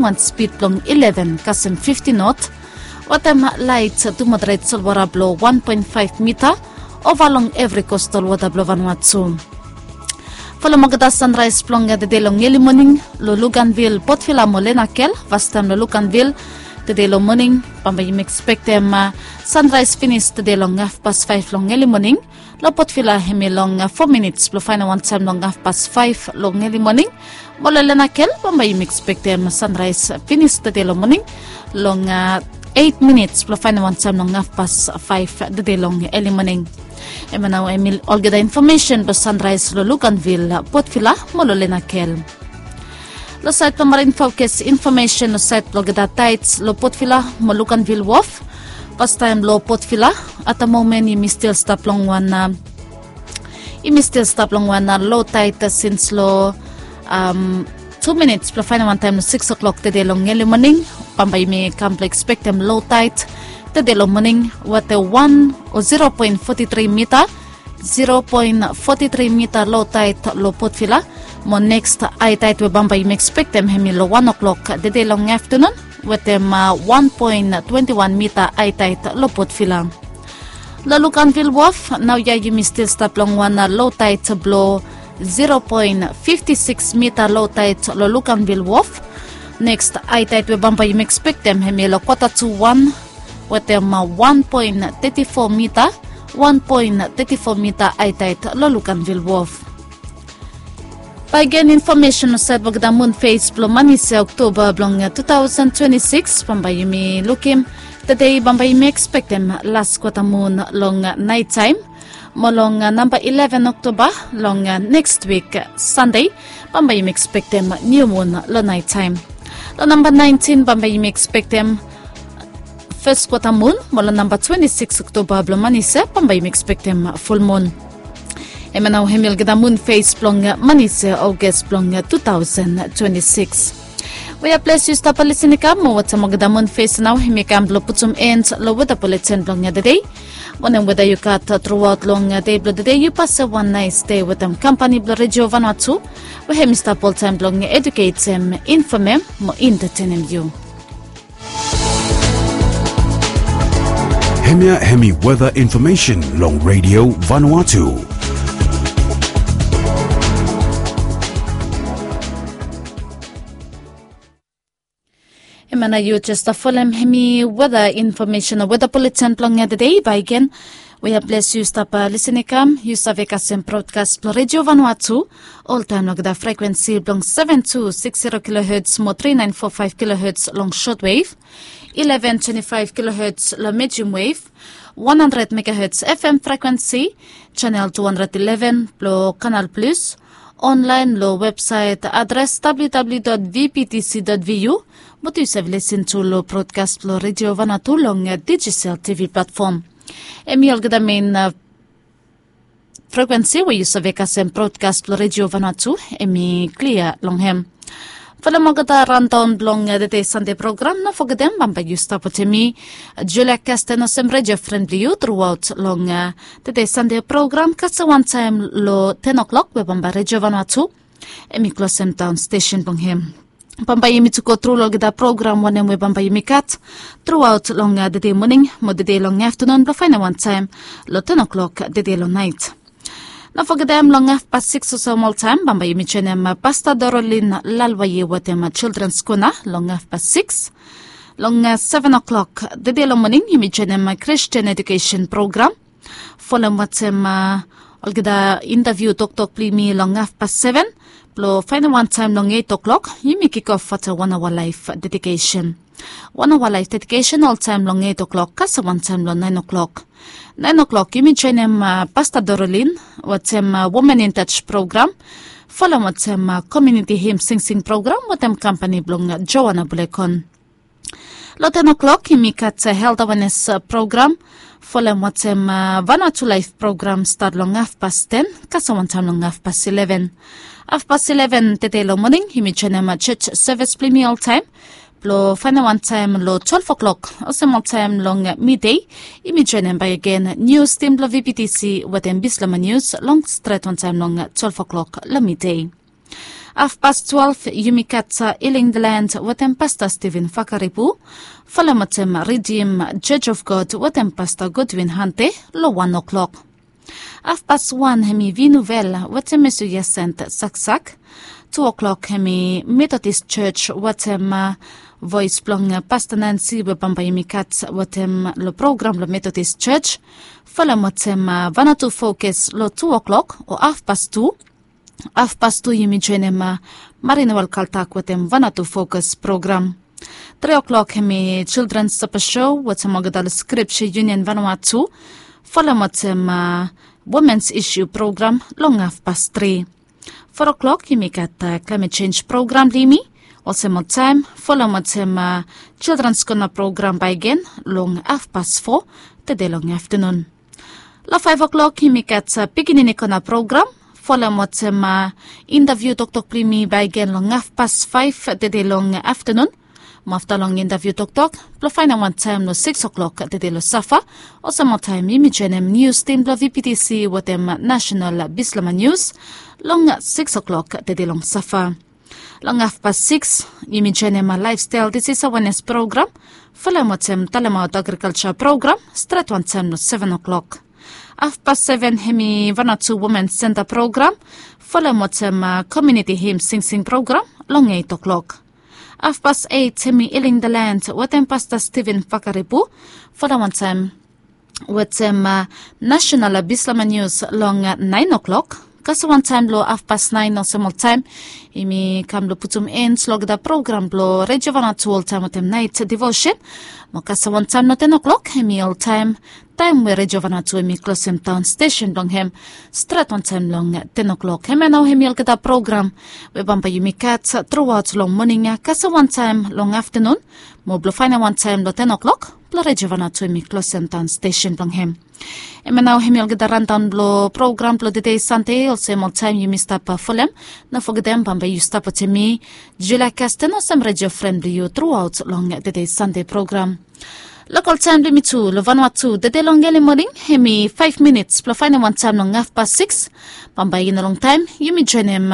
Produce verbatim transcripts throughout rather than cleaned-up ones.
wan spid blong ileven kasem fifti not, wetem lait tu moderet solwara blong wan poen faef mita ova long evri kostal wota blong Vanuatu. Folem olgeta sanraes blong tede long eli moning long Luganvil, Port Vila mo Lenakel. Fastaem long Luganvil, tede long moning bambae yumi ekspektem sanraes finis tede long hafpas faef long eli moning. Long Port Vila hemi long fo minits blong faenem wantaem long hafpas faef long eli moning. Mo long Lenakel bambae yumi ekspektem sanraes finis tede long moning long eit minits blong faenem wantaem long hafpas faef tede long eli moning. Hemia nao hemi olgeta infomesen blong sanraes long Luganvil, Port Vila mo long Lenakel. Long saed blong marin fokes infomesen long saed blong olgeta taets long Port Vila mo Luganvil wof. Fastaem long Port Vila, at the moment yumi stil stap long wan yumi stil stap long wan lo taet sins long tu minits blong faenem wantaem long sikis oklok tede long eli moning. Bambae yumi kam blong ekspektem lo taet tede long moning wetem wan o zero poen foti tri mita, zero poen foti tri mita lo taet long Port Vila. Mo neks ae taet we bambae yumi ekspektem hemi long wan oklok tede long aftenun wetem wan poen twenti wan mita ae taet long Port Vila. Long Luganvil wof naoia yumi stil stap long wan lo taet blong zero poen fifti sikis mita lo taet long Luganvil wof. Neks ae taet we bambae yumi ekspektem hemi long kwata tu wan wetem wan poen teti fo mita, wan poen teti fo mita ae taet long Luganvil wof. Bae gen infomesen long saed blong olgeta mun fes blong manise Oktoba blong tu taosen twenti sikis bambae yumi lukim. Tede bambae yumi ekspektem las kwata mun long naet taem. Mo long namba ileven Oktoba long neks wik Sande bambae yumi ekspektem niu mun long naet taem. Long namba naentin bambae yumi ekspektem fes kwata mun. Mo long namba twenti sikis Oktoba blong manise bambae yumi ekspektem fulmun. Hemia nao hemi olgeta mun fes blong manise Oges blong tu taosen twenti sikis. We ya ples yu stap lisin i kam mo wetem olgeta mun fes nao hemi kam blong putum en long weta buletin blong tede. Wanem weta yu gat truaot long dei blong tede, yu pasem wan naes dei wetem kampani blong Redio Vanuatu we hemi stap oltaem blong eduketem, infomem mo entetenem yu. Hemia hemi weta infomesen long Redio Vanuatu. Hemia nao yu jes folem hemi weta infomesen o weta buletin blong tede. Bae gen we ya ples yu stap lisin i kam, yu save kasem brodkas blong Redio Vanuatu oltaem long olgeta frekwensi blong seven two six zero kilohertz mo three nine four five kilohertz long shortwave, eleven twenty-five kilohertz long medium wave, one hundred megahertz F M frekwensi, channel two hundred eleven blong Kanal Plus, online long websaet adres W W W dot V P T C dot V U, mo tu yu save lisin tu long brodkas blong Redio Vanuatu long Digicel T V platform. Hemi olgeta mein frekwensi we yu save kasem brodkas blong Redio Vanuatu, hemi klia long hem. Folem olgeta randaon blong tede Sande program, no fogetem bambae yu stap wetem mi, Julia Kasten, olsem redio fren blong yu truaot long tede Sande program, kasem wantaem long ten oklok we bambae Redio Vanuatu hemi klosem daon stesen blong hem. Bambae yumi tu go tru long olgeta program wanem we bambae yumi gat truaot long tede moning mo tede long aftenun blong faenem wantaem long ten oklok tede long naet. No fogetem long hafpas sikis olsem oltaem bambae yumi joenem Pasta Dorolin Lalwaye wetem Childrens Kona long hafpas sikis. Long seven oklok tede long moning yumi joenem Kristin edukesen program. Folem wetem olgeta intaviu toktok blong yumi long hafpas seven. Blong faenem wantaem long eit oklok yumi kikof wetem wan aoa laef dedikesen. Wan aoa laef dedikesen oltaem long eit oklok kasem wantaem long naen oklok. Naen oklok yumi joenem Pasta Dorolin wetem Women in Touch program. Folem wetem komuniti him singsing program wetem kampani blong Joana Bulekon. Long ten oklok yumi gat helt awenes program. Folem wetem Vanuatu Laef program stat long hafpas ten kasem wantaem long hafpas ileven. Hafpas ileven tede long moning yumi joenem jos sevis blong yumi oltaem. Blong faenem wantaem long twelef oklok olsem oltaem long midei yumi joenem bakegen nius tim blong VPTC wetem Bislama Nius long stret wantaem long twelef oklok long midei. Afpas twelve yumi gat Healing the Land wetem Pasta Steven Fakaripu. Folem wetem Redeem Church of God wetem Pasta Godwin Hante lo wan o'klok. Afpas wan hemi Vinuvel wetem Mesuya Sent Saksak. Tu o'klok hemi Methodist Church wetem Voes blong Pasta Nansi we bambae yumi gat wetem lo program lo Methodist Church. Folem wetem Vanatu Fokus lo tu o'klok o afpas tu. Afpas tu yumi joenem Marinewel Kaltak wetem Vanatu Fokus program. Tri o'klok hemi Children Sapa Show wetem olgeta lo Scripture Union Vanua tu. Folem wetem Womens Issue program long afpas tri. Fo o'klok yumi gat Climate Change program lo yumi. Olsem oltaem folem wetem Children's Corner program bakegen long afpas fo tede long aftenun. Lo faef o'klok yumi gat Pikinini Kona program. Folem wetem interview toktok blong yumi bakegen long afpas faef tede long aftenun. Mo afta long interview toktok blo faenem wan taem lo sikis o'klok tede lo safa. Olsem oltaem yumi joenem nius tim blo VPTC wetem National Bislama Nius long sikis o'klok tede long safa. Long afpas sikis yumi joenem Lifestyle Disease Awareness program. Folem wetem Talemaot Agriculture program stret wantaem lo seven o'klok. Afpas seven hemi Vanatu Women Center program. Folem wetem Community Hymn Singsing program long eit o'klok. Afpas eit hemi Healing the Land wetem Pasta Steven Fakaripu. Folem wantaem wetem National Bislama Nius long naen o'klok. Kasem wantaem lo afpas naen olsem oltaem yumi kam blo putum en lo olgeta program blo Redio Vanatu oltaem wetem naet devotion. Mo kasem wantaem lo ten o'klok hemi oltaem taem we Redio Vanatu hemi klosem daon stesen blong hem stret wantaem long ten o'klok. Hemia nao hemi olgeta program we bambae yumi gat truaot long moning ya kasem wantaem long aftenun mo blo faenem wan taem lo ten o'klok blo Redio Vanatu hemi klosem daon stesen blong hem. Hemia nao hemi olgeta randaon blo program blo tede Sande. Olsem oltaem yumi stap folem, no fogetem bambae yu stap wetem mi Julia Kasten olsem redio fren blo yu truaot long tede Sande program. Lokol taem blo yumi tu lo Vanua tu tede long eli moning hemi faef minits blo faenem wan taem long afpas sikis. Bambae i no longtaem yumi joenem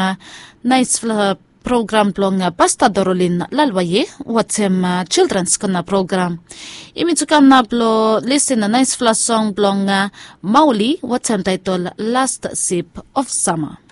naesfala program blong Pasta Dorolin Lalwaye wetem Children's Corner program. Yumi tu kam nao blo lisin naesfala song blong Mauli wetem taetol Last Sip of Summer.